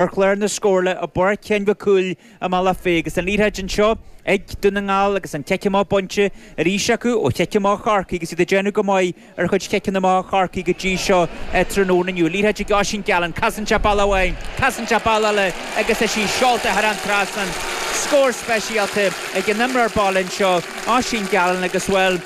Ar chlár na scórála i bPáirc Sheáin Mhic Cumhaill i mBealach Féich agus an liathróid anseo ag Dún na nGall agus an cic amach bainte arís acu ó chic amach Chorcaí agus iad ag déanamh go maith ar chuid chiceanna amach Chorcaí go dtí seo tráthnóna inniu. Liathróid ag Oisín Gallen, casann sé bealach amháin, casann sé bealach eile agus tá sí seolta thar an trasnán. Scór speisialta ag an imreoir baile anseo, Oisín Gallen agus, bhuel,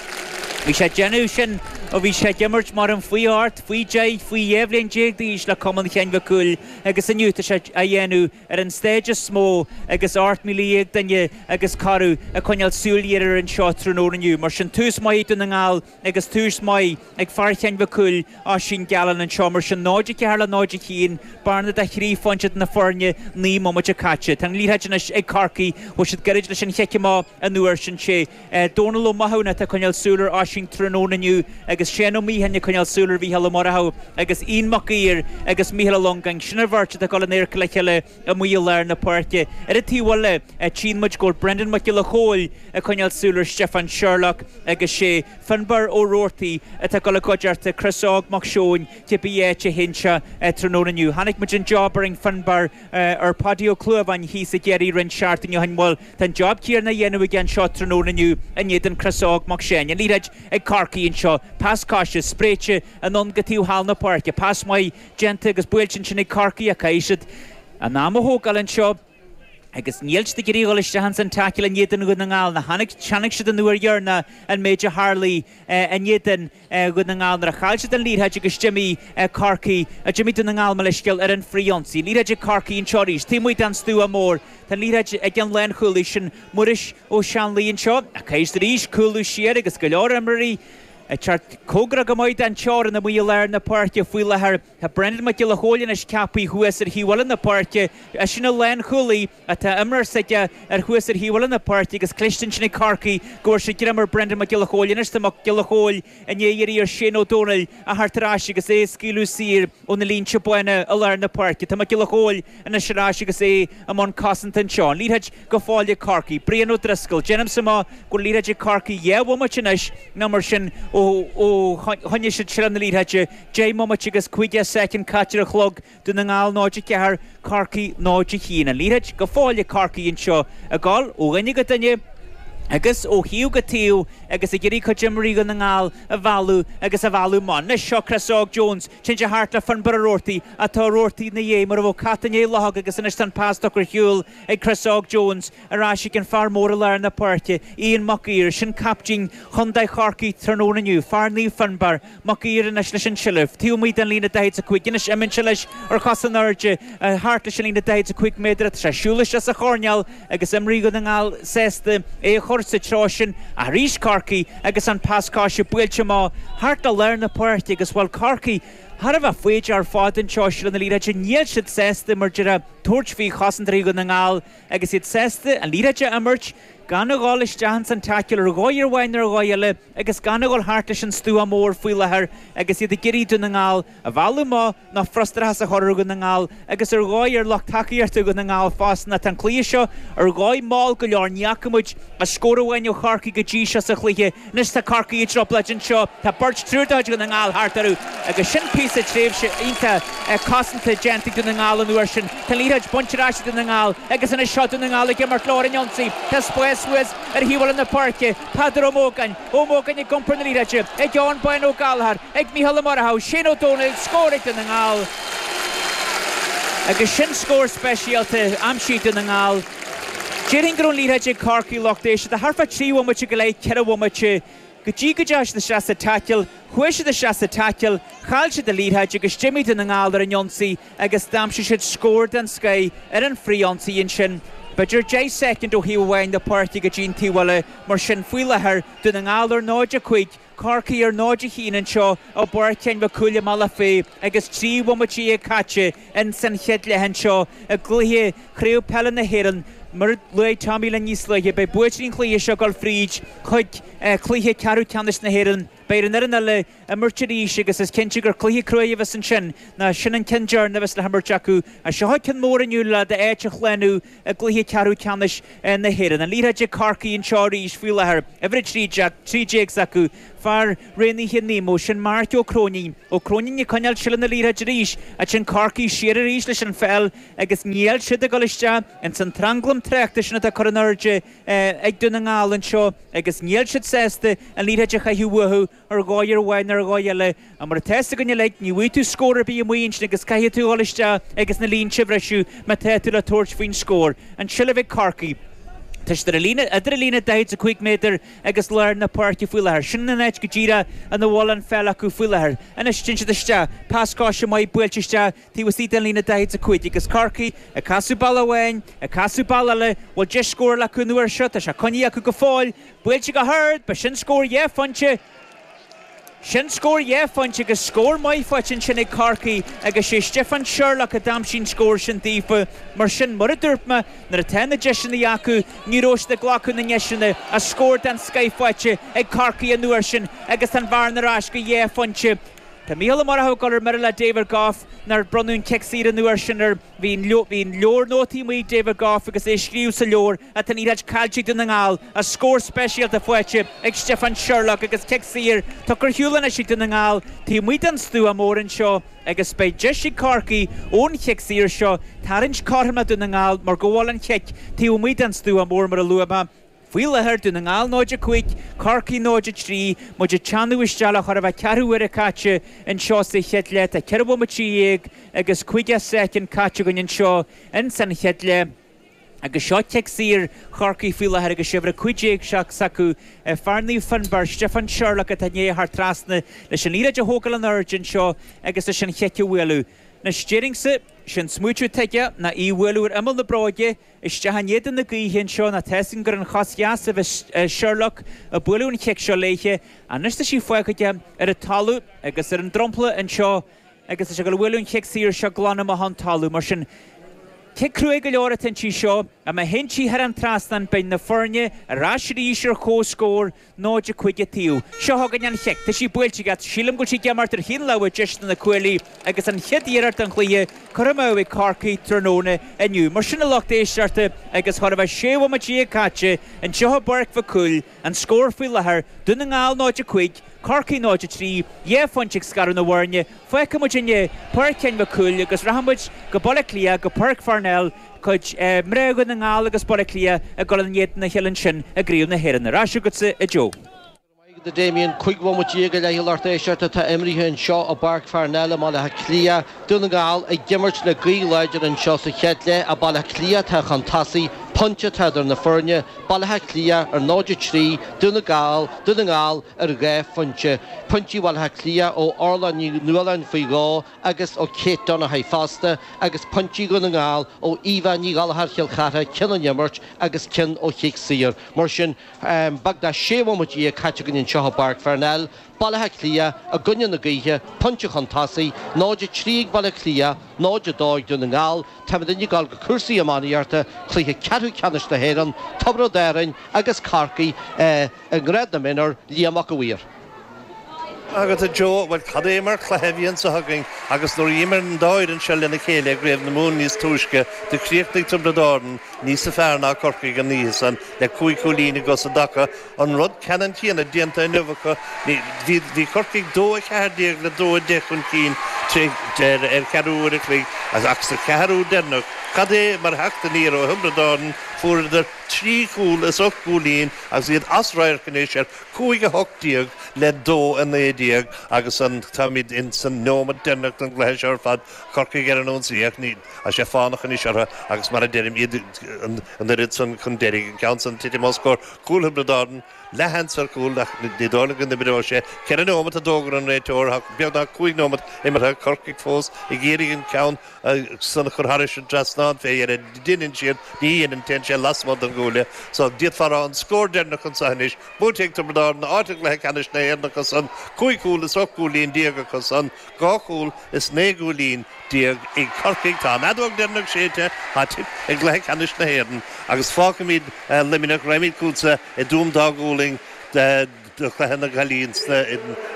bhí sé ag déanamh sin ó bhí sé ag imirt mar an faoi 8, faoi 10, faoi 12 bhliain d'aois le Cumann Sheáin Mhic Cumhaill. Agus inniu tá sé á dhéanamh ar an stage is mó agus 18,000 duine agus corradh ag coinneáil súil ghéar air anseo tráthnóna inniu. Mar sin tús maith ag Dún na nGall agus tús maith ag fear Sheáin Mhic Cumhaill, Oisín Gallen anseo. Mar sin 0-4 le 0-1, bearna de thrí phointe idir na foirne, 9 mbomaite caite. Tá an liathróid anois ag Corcaigh, bhfuil siad gairid leis an chic amach an uair sin. Sé Dónal Ó Mathúna atá ag coinneáil súil ar Oisín tráthnóna inniu agus Shane Ó Miacháin ag coinneáil súil ar Mhícheál Ó Murchú agus Ian Mac Uidhir agus Mícheál Ó Longáin. Sin an bheirt atá ag dul in adharca le chéile amuigh i lár na páirce. Ar an taobh eile, tchíonn muid go bhfuil Brendan Mac Giolla Chóill ag coinneáil súil ar Stiofán Sherlock agus sé Finbarr Ó Roarty atá ag dul i gcuideachta Chris Óg Mac Seoin cibé áit a théann sé tráthnóna inniu. Chonaic muid an job a rinne Finbarr ar Pháidí Ó Clúmháin thíos i gCiarraí roinnt seachtainí ó shin. Bhuel, tá an job céanna á dhéanamh aige anseo tráthnóna inniu in éadan Chris Óg Mac Seáin. An liathróid ag Corcaigh anseo. Pas coise, spréite anonn go taobh thall na páirce. Pas maith déanta agus buailte ansin ag Corcaigh ach caithfidh siad a n-am a thógáil anseo agus níl siad ag iarraidh a dhul isteach ins an tackle in éadan Dhún na nGall. Ná chonaic siad an uair dheireanach an méid a tharlaigh in éadan Dhún na nGall nuair a chaill siad an liathróid agus d'imigh Corcaigh, d'imigh Dún na nGall, mo leithscéal, ar an frithionsaí. Liathróid ag Corcaigh anseo arís, taobh amuigh den stua mór. Tá an liathróid ag an lánchúlaí sin, Muiris Ó Seanlaoi anseo, ach caithfidh siad arís cúlú siar agus go leor imreoirí ag teacht cóngarach go maith den teorainn amuigh i lár na páirce faoi láthair. Tá Brendan Mac Giolla Chóill anois ceaptha thuas ar thaobh eile na páirce. Eisean an lánchúlaí atá imreoir s'aige ar thuas ar thaobh eile na páirce agus cliste ansin ag Corcaigh go bhfuair siad greim ar Brendan Mac Giolla Chóill. Anois tá Mac Giolla Chóill i ndiaidh iarraidh ar Shane Ó Dónaill a theacht ar ais agus é a scaoileadh saor ó na línte bána i lár na páirce. Tá Mac Giolla Chóill anois ar ais agus é i mbun cosanta anseo. An liathróid go fóill ag Corcaigh. Brian Ó Drisceoil. Déanaimse amach go bhfuil liathróid ag Corcaigh 2 bhomaite anois nó mar sin ó choinnigh siad seilbh na liathróide. 10 mbomaite agus 50 soicind caite ar an chlog. Dún na nGall 0-4, Corcaigh 0-1. An liathróid go fóill ag Corcaigh anseo ag dul ó dhuine go duine agus ó thaobh go taobh agus ag iarraidh cuid imreoirí Dhún na nGall a mhealladh agus a mhealladh amach. Anois seo Chris Óg Jones. Téann sé thart le Finbarr Ó Roarty ach tá Ó Roarty ina dhiaidh mar a bheadh cat i ndiaidh luchóg agus anois tá an pas tugtha ar shiúl ag Chris Óg Jones ar ais ag an fear mór i lár na páirce, Ian Mac Uidhir. Sin captaen chontae Chorcaí tráthnóna inniu, fear Naomh Fionnbarr. Mac Uidhir anois leis an tseilbh. Taobh amuigh den líne 45 anois imíonn sé leis ar chos in airde thart leis an líne 45 méadar. Tá sé ag siúl isteach sa choirnéal agus imreoirí Dhún na nGall sásta é a chur sa treo sin. Arís Corcaigh agus an pas coise buailte amach thart le lár na páirce agus bhuel Corcaigh thar a bheith foighdeach ar fad anseo i seilbh na liathróide. Níl siad sásta mar déarfá tabhairt faoi chosantóirí Dhún na nGall agus iad sásta an liathróid a imirt gan a dhul isteach ins an taicil ar dhóigh amháin nó ar dhóigh eile agus gan a dhul thart leis an stua mór faoi láthair agus iad ag iarraidh Dún na nGall a mhealladh amach nó frustrachas a chur ar Dhún na nGall agus ar dhóigh ar lucht tacaíochta Dhún na nGall fosta. Tá an cluiche seo ar dhóigh mall go leor, ní fhaca muid ach scór amháin ó Chorcaigh go dtí seo sa chluiche. Anois tá Corcaigh i dtrioblóid anseo. Tá beirt, triúr de chuid Dhún na nGall thart orthu agus sin píosa tréimhse iontach cosanta déanta ag Dún na nGall an uair sin. Tá an liathróid bainte ar ais ag Dún na nGall agus anois seo Dún na nGall ag imirt leo ar an ionsaí. Tá spás thuas ar thaobh eile na páirce. Peadar Ó Mógáin, Ó Mógáin ag iompar na liathróide ag Eoghan Bán Ó Gallchóir, ag Mícheál Ó Murchú, Shane Ó Dónaill, scór ag Dún na nGall. Agus sin scór speisialta aimsithe ag Dún na nGall. Déarfainn go raibh an liathróid ag Corcaigh lucht éisteachta thart fá 3 bhomaite go leith, 4 bhomaite, go dtí go dteachaigh siad isteach sa taicil. Chuaigh siad isteach sa taicil, chaill siad an liathróid agus d'imigh Dún na nGall ar an ionsaí agus d'aimsigh siad scór den scoith ar an frith-ionsaí ansin. B'fhéidir 10 soicind ó thaobh amháin na páirce go dtí an taobh eile. Mar sin, faoi láthair, Dún na Ngall ar 0-5, Corcaigh ar 0-1 anseo i bPáirc Sheáin Mhic Cumhaill i mBealach Féich agus 13 bhomaite caite ins an chéad leath anseo i gcluiche Chraobh Peile na hÉireann. Mar a luaigh Tommy linn níos luaithe, beidh buaiteoirí an chluiche seo ag dul fríd chuig cluiche ceathrú ceannais na hÉireann. Beidh ar an fhoireann eile imirt arís agus is cinnte gur cluiche cruaidh a bheas ansin ná sin an ceann deireanach a bheas le himirt acu. Seo ceann mór inniu le d'áit a shlánú i gcluiche ceathrú ceannais na hÉireann. An liathróid ag Corcaigh anseo arís faoi láthair. Uimhir 13, 13 s'acu. Fear. fear roghnaithe Nemo, sin Marc Ó Cróinín. Ó Cróinín ag coinneáil seilbh na liathróide arís, ansin Corcaigh siar arís leis an pheil agus níl siad ag dul isteach ins an tranglam tráchta sin atá curtha in airde ag Dún na nGall anseo agus níl siad sásta an liathróid a chaitheamh uathu ar dhóigh ar bith nó ar dhóigh eile. Ach mar atá fhios againn uilig, ní bhfaighidh tú scór ar bith amuigh ansin agus caithfidh tú a dhul isteach agus na línte a bhriseadh má tá tú le tabhairt faoin scór. An tseilbh ag Corcaigh. Tá siad ar an líne, idir an líne 45 méadar agus lár na páirce faoi láthair. Sin an áit go díreach ina bhfuil an pheil acu faoi láthair. Anois téann siad isteach. Pas coise maith buailte isteach taobh istigh den líne 45 agus Corcaigh ag casadh bealach amháin, ag casadh bealach eile. Bhfuil deis scórála acu an uair seo? Tá sé coinnithe acu go fóill. Buailte go hard, b'shin scór dhá phointe. Sin scór dhá phointe agus scór maith faighte ansin ag Corcaigh agus sé Stiofán Sherlock a d'aimsigh an scór sin daofa. Mar sin, mar a dúirt mé, nuair atá na deiseanna acu, ní raibh siad ag glacadh na ndeiseanna. Ach scór den scoith faighte ag Corcaigh an uair sin agus tá an bhearna ar ais go dhá phointe. Tá Mícheál Ó Murchú ag dul ar mire le David Gough nár bronnadh an cic saor an uair sin air. Bhí an leabhar nótaí amuigh ag David Gough agus é ag scríobh sa leabhar ach tá an liathróid caillte ag Dún na nGall ach scór speisialta faighte ag Stiofán Sherlock agus cic saor tugtha ar shiúl anois ag Dún na nGall taobh amuigh den stua mór anseo agus beidh deis ag Corcaigh ón chic saor seo tarraingt cothrom le Dún na nGall mar go bhfuil an chic taobh amuigh den stua mór mar a luaigh mé. Faoi láthair, Dún na nGall 0-5, Corcaigh 0-3, muid ag teannadh isteach le chóir a bheith ceathrú uaire caite anseo sa chéad leath. Tá 14 bhomaite agus 50 soicind caite againn anseo ins an chéad leath agus seo cic saor Chorcaí faoi láthair agus uimhir 15 s'acu, fear Naomh Fionnbarr, Stiofán Sherlock atá i ndiaidh a theacht trasna leis an liathróid a thógáil in airde anseo agus leis an chic a bhualadh. Anois, déarfainnse, sé'n smaoitiú atá aige ná í a bhualadh ar imeall na bróige, Isteach in éadan na gaoithe anseo nó tá fhios againn gur an chos dheas a bheas Sherlock ag bualadh an chic seo léithe. Anois tá sí fágtha aige ar an talamh agus ar an dromchla anseo agus tá sé ag dul a bhualadh an chic saor seo glan amach ón talamh. Mar sin, cic cruaidh go leor atá inti seo. Má théann sí thar an trasnán beidh na foirne ar ais arís ar comhscór. 0-5 an taobh. Seo chugainn an chic. Tá sí buailte aige. Sílim go bhfuil sí ag imeacht ar thaobh na láimhe deise de na cuaillí agus an chéad iarracht den chluiche curtha amú ag Corcaigh tráthnóna inniu. Mar sin a lucht éisteachta agus chóir a bheith 16 bhomaite caite anseo i bPáirc Mhic Cumhaill, an scór faoi láthair, Dún na nGall 0-5, Corcaigh 0-3, 2 phointe ag scaradh na bhfoirne. Fágfaidh muid inniu Páirc Sheáin Mhic Cumhaill agus rachaidh muid go Baile Átha Cliath, go Páirc Pharnell, cuid mná Dhún na nGall agus Baile Átha Cliath ag dul in éadan a chéile ansin i gCraobh na hÉireann. Ar ais agatsa, a Joe. Go raibh maith agat a Damien. 15 bhomaite go leith a lucht éisteachta atá imrithe anseo i bPáirc Pharnell i mBaile Átha Cliath. Dún na nGall ag imirt le gaoth láidir anseo sa chéad leath ach Baile Átha Cliath atá chun tosaigh. Pointe atá idir na foirne, Baile Átha Cliath ar 0-3, Dún na Gall, Dún na nGall ar 2 phointe. Pointí Bhaile Átha Cliath ó Orla Ní Nualláin faoi dhó agus ó Kate Donaghy fosta, agus pointí Dhún na nGall ó Aoibhe Ní Ghallchóir Chill Chartha, ceann ón imirt agus ceann ó chic saor. Mar sin, beagnach 16 bhomaite caite againn anseo i bPáirc Pharnell, Baile Átha Cliath i gcoinne na gaoithe, pointe chun tosaigh, 0-3 ag Baile Átha Cliath, 0-2 ag Dún na nGall. Táimidne ag dul go cúrsaí iománaíochta, cluiche ceathrú ceannais na hÉireann, Tiobraid Árainn agus Corcaigh i ngrád na mionúr, Liam Mac a' Mhaoir. Agat a Joe, bhuel cad é mar chluiche a bhí anso againn agus nuair a d'imir an dá fhoireann seo lena chéile i gCraobh na Mumhan níos túisce, do chríochnaigh Tiobraid Árann níosa fearr ná Corcaigh an oíche san le cúig chúilín i gcos i dtaca. An rud ceannann céanna déanta inniu acu. Bhí bhí Corcaigh 2-14 le 2-10 chun cinn ar cheathrú uair a chloig ach sa cheathrú deireanach, cad é mar theacht aniar ó Thiobraid Árann, fuaireadar trí chúl is ocht gcúilín agus iad as radharc anois ar 5-18 le 2-19 agus an táimid in san neomat deireanach den gcluiche seo ar fad, Corcaigh ar an ionsaí ach ní tá sé fánach anois orthu agus mar a deirim iad an oiread san chun deiridh, an ceann san titim os comhair cúl Thiobraid Árann, leathsheans ar chúl ach ní dóigh liom go n-oibreoidh sé. Ceithre neomat a d'fhógair an réiteoir, tá beagnach cúig neomat imeartha, Corcaigh fós ag iarraidh an ceann san a chur thairis an trasnán fé dheireadh. Deineann siad, ní dheineann, téann sé lasmuigh den gcuaille. So, d'fhéadfá a rá an scór deireanach anseo anois, buaite ag Tiobraid Árann, áit i gcluiche ceannais na hÉireann acu san, cúig chúl is 18 gcúilín acu san, dhá chúl is 19 gcúilín ag Corcaigh. Tá an fheadóg deireanach séidte, tá Tip i gcluiche ceannais na hÉireann agus fágfaimid Luimneach, raghaimid chugatsa i dTuaim Dá Ghualainn do chluiche na gcailíní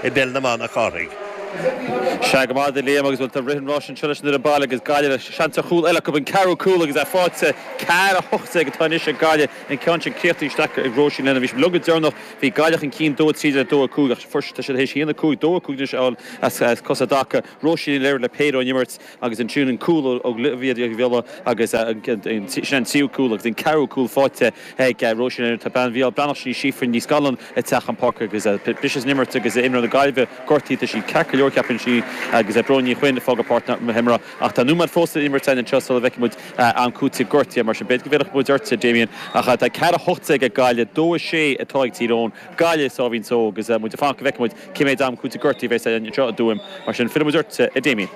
i bpeil na mban, a Chárthaigh. Sea, go maith a Liam agus bhuel tá rith an ráis anseo leis an fhoireann baile agus Gaillimh le seans ar chúl eile acu, an ceathrú cúl agus é faighte. 4, 18 atá anois ag Gaillimh, an ceann sin críochnaithe isteach ag Róisín Lennon. Bhí sibh liom go deireanach, bhí Gaillimh chun cinn 2, 13 le 2, 5 ach fuair tá siad théis 1, 5, 2, 5 anois a fháil as cosa i dtaca. Róisín Ní Laoire le péire ón imirt agus ansin an cúl ó Olivia Ní Bhiolla agus sin an tríú cúl agus an ceathrú cúl faighte ag Róisín Lennon. Tá bean Mhícheál Breathnach, sin í Síofra Ní Scanláin ag teacht chun páirce agus briseadh san imirt agus imreoir na Gaillimhe gortaithe. Tá sí ceart go leor ceapann sí agus Bróin Ní Chuinn ag fágáil páirc na himeartha ach tá nóiméad fós le imirt againn anseo sula bhfeicfidh muid am cúitimh gortaithe mar sin b'fhéidir go bhfillfidh muid ortsa Damien ach tá 4-18 ag Gaillimh, 2-6 atá ag Tír Eoghain. Gaillimh sáimhín só agus muid ag fanacht go bhfeicfidh muid cé mhéad am cúitimh gortaithe a bheas againn anseo i dTuaim. Mar sin, fillfidh muid ort, a Damien.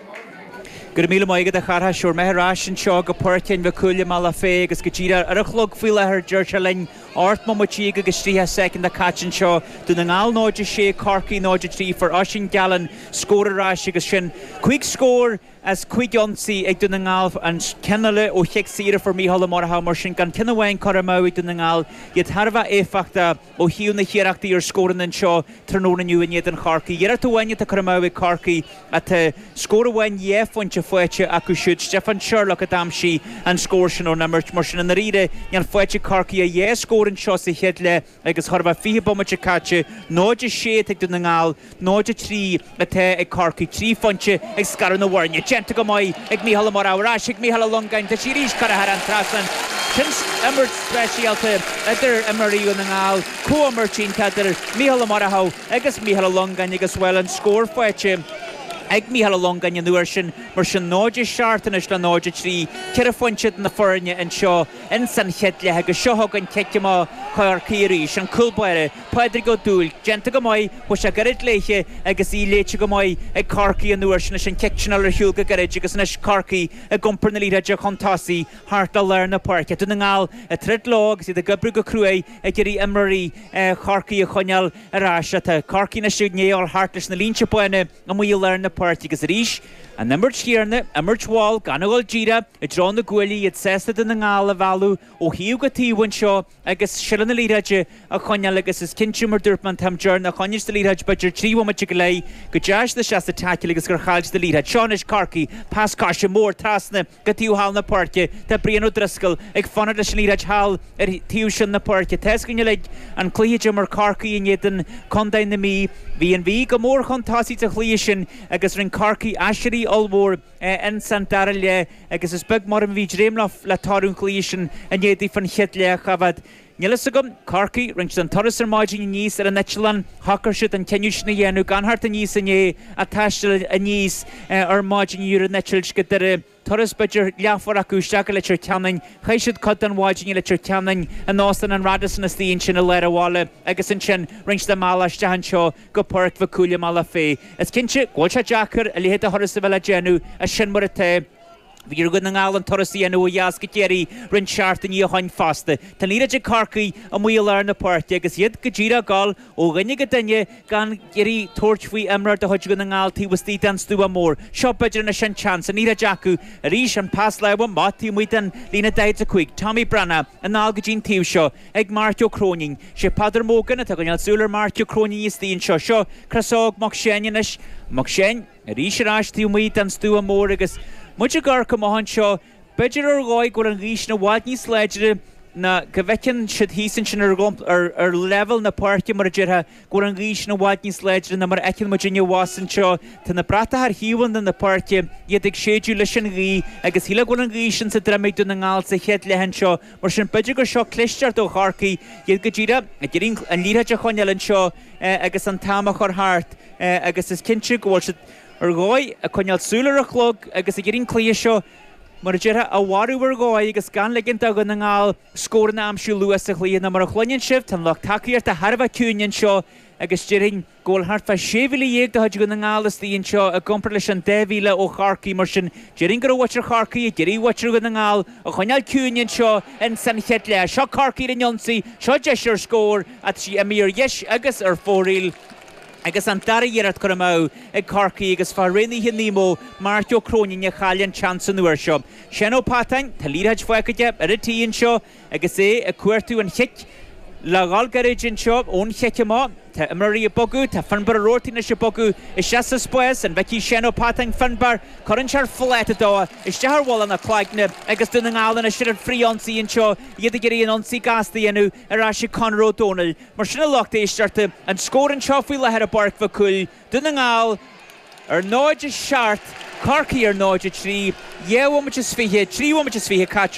Go raibh míle maith agat, a Chárthaigh. Sure, mé ar ais anseo go Páirc Fhinn Mhic Cumhaill i mBealach Féich agus go díreach ar an chlog faoi láthair deir sé linn 18 bomaite agus 30 soicind caite anseo. Dún na nGall 0-6, Corcaigh 0-3. Fuair Oisín Gallen scór ar ais agus sin cúig scór as cúig ionsaí ag Dún na nGall, an ceann eile ó chic saor a fuair Mícheál Ó Murchú, mar sin gan ceann amháin curtha amú ag Dún na nGall, iad thar a bheith éifeachtach ó thaobh na hiarrachtaí ar scóranna anseo tráthnóna inniu in éadan Chorcaí. Iarracht amháin atá curtha amú ag Corcaigh ach tá scór amháin dhá phointe faighte acu siúd, Stiofán Sherlock a d'aimsigh an scór sin ón imirt. Mar sin i ndáiríre níl faighte ag Corcaigh ach dhá scór anseo sa chéad leath. Agus chóir a bheith 20 bomaite caite, 0-6 atá ag Dún na nGall, 0-3 atá ag Corcaigh, 3 phointe ag scaradh na bhfoirne. Déanta go maith ag Mícheál Ó Murchú, ar ais ag Mícheál Ó Longáin, tá sí arís curtha thar an trasnán. Sin imirt speisialta idir imreoirí Dhún na nGall, comhimirt iontach idir Mícheál Ó Murchú agus Mícheál Ó Longáin agus, bhuel, an scór faighte ag Mícheál Ó Longáin an uair sin, mar sin 0-7 anois le 0-3, ceithre phointe idir na foirne anseo. Ins an chéad leath agus seo chugainn cic amach Chorcaí arís, an cúl báire, Pádraig Ó Dúill, déanta go maith, chuaigh sé gairid léithe agus í léite go maith ag Corcaigh an uair sin leis an chic sin a dhul ar shiúl go gairid agus anois Corcaigh ag iompar na liathróide chun tosaigh thart le lár na páirce. Dún na nGall ag troid leo agus iad ag oibriú go cruaidh ag iarraidh imreoirí Chorcaí a choinneáil ar ais. Tá Corcaigh anois i ndiaidh a dhul thart leis na línte bána amuigh i lár na páirce agus arís an imirt chéanna, imirt mhall, gan a dhul díreach i dtreo na gcuaillí, iad sásta Dún na nGall a mhealladh ó thaobh go taobh anseo agus seilbh na liathróide a choinneáil agus is cinnte, mar dúirt mé an t-am deireanach, choinnigh siad an liathróid b'fhéidir 3 bhomaite go leith go dteachaigh siad isteach sa taicil agus gur chaill siad an liathróid. Seo anois Corcaigh, pas coise mór trasna Go taobh thall na páirce, tá Brian Ó Drisceoil ag fanacht leis an liathróid thall ar taobh sin na páirce. Tá 'fhios againn uilig an cluiche a d'imir Corcaigh in éadan Contae na Mí. Bhí an Mhí go mór chun tosaigh sa chluiche sin agus rinne Corcaigh aiséirí ollmhór ins an dara leath agus is beag mar a bhí ag dréim le toradh an chluiche sin in éadaí fan chéad leath. Cha bhfad Níl fhios agam. Corcaigh, rinne siad an turas ar maidin aníos ar an eitleán, shocair siad an cinneadh sin a dhéanamh gan theacht aníos inné ach taisteal aníos ar maidin inniu ar an eitilt go Doire. Turas b'fhéidir leathuair acu isteach go Leitir Ceanainn. Chaith siad cuid den mhaidin i Leitir Ceanainn in Óstán an Radisson istigh ansin i lár an bhaile agus ansin rinne siad a mbealach isteach anseo go Páirc Mhic Cumhaill i mBealach Féich. Is cinnte go bhfuil sé deacair a leithéid de thuras a bheith le déanamh ach sin mar atá. Bhí ar Dhún na nGall an turas a dhéanamh ó dheas go Ciarraí roinnt seachtainí ó shoin fosta. Tá an liathróid ag Corcaigh amuigh i lár na páirce agus iad go díreach ag dul ó dhuine go duine gan iarraidh tabhairt faoi imreoir de chuid Dhún na nGall taobh istigh den stua mór. Seo b'fhéidir anois an tseans, an liathróid acu arís, an pas láimhe amach taobh amuigh den líne 45. Tommy Breathnach anall go dtí an taobh seo ag Marc Ó Cróinín. Sé Peadar Mogan atá ag coinneáil súil ar Marc Ó Cróinín istigh anseo. Seo Chris Óg Mac Seáin anois. Mac Seáin. Arís ar ais taobh amuigh den stua mór agus muid ag amharc amach anseo, b'fhéidir ar dhóigh go bhfuil an ghaoth sin i bhfad níos láidre ná go bhfeiceann siad thíos ansin ar ar leibhéal na páirce, mar a déarfá, go bhfuil an ghaoth sin i bhfad níos láidre ná mar a fheiceann muidinne abhus anseo. Tá na bratacha ar thaobhanna na páirce, iad ag séideadh leis an ghaoth agus shílfeá go bhfuil an ghaoth sin sa droim ag Dún na nGall sa chéad leath anseo. Mar sin, b'fhéidir gur seo clisteacht ó Chorcaigh, iad go díreach ag iarraidh an liathróid a choinneáil anseo agus an t-am a chur thart. agus is cinnte go bhfuil siad ar dhóigh ag coinneáil súil ar an chlog agus ag iarraidh an cluiche seo, mar a déarfá, a mharú ar dhóigh agus gan ligint do Dhún na nGall scóranna a aimsiú luath sa chluiche. Nó mar a chluineann sibh, tá an lucht tacaíochta thar a bheith ciúin anseo agus déarfainn go bhfuil thart fá 16,000 de chuid Dhún na nGall istigh anseo i gcomparáid leis an 2,000 ó Chorcaigh. Mar sin, déarfainn go raibh muintir Chorcaí ag iarraidh muintir Dhún na nGall a choinneáil ciúin anseo ins an chéad leath. Seo Corcaigh ar an ionsaí, seo deis ar scór ach tá sí imithe ar dheis agus ar fóraoil. Agus an dara hiarracht curtha amú ag Corcaigh agus fear Raonaithe Nemo, Marc Ó Cróinín, a chaill an tseans an uair seo. Seán Ó Peatáin, tá liathróid fágtha aige ar an tí anseo agus é ag cuartú an chic. Le dhul gairid anseo ón chic amach, tá imreoirí ag bogadh, tá Finbarr Ó Roarty anois ag bogadh isteach sa spás, an bhfeicfidh Seán Ó Peatáin Finbarr? Cuireann sé ar phláta dó isteach ar mhullach na cloigne agus Dún na nGall anois ar an frith-ionsaí anseo, iad ag iarraidh an ionsaí gasta a dhéanamh ar ais ag Conor Ó Domhnaill. Mar sin a lucht éisteachta, an scór anseo faoi láthair i bPáirc Mhic Cumhaill, Dún na nGall ar 0, 7, Corcaigh ar 0, 3, 2 bhomaite is 20, 3 bhomaite is 20 caite.